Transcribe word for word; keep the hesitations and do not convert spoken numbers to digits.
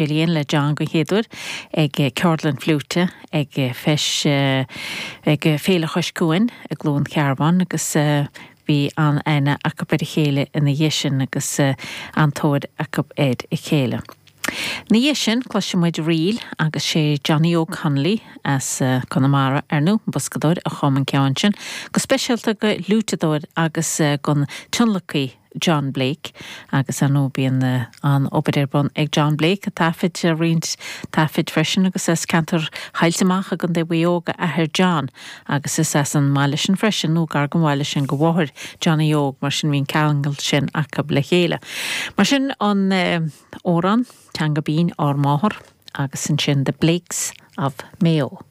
Gillian le John den chéad uair ag ceardlann fliúite ag feis ag Féile Chois Cuain i gCluain Cearbán agus bhí an-aithne acu ar a chéile ina dhiaidh sin agus an-tóir acu ar a chéile. Ina dhiaidh sin cloisfidh muid ríl agus sé Johnny Óg Connolly as Conamara ar ndóigh, an boscadóir a chum an ceann sin, go speisialta don fhliúiteadóir agus don tionlacaí John Blake agus ar ndóigh bíonn an obair ar bun ag John Blake a taifid roinnt taifid freisin agus as ceantar Thailte Mach i gContae Mhaigh Eo a athair John agus is as an mbaile sin freisin nó gar don bhaile sin do mháthair Johnny Óg mar sin bhí an ceangal sin acu le chéile. Mar sin an amhrán teanga binn ár máthair agus ansin The Blakes of Mayo.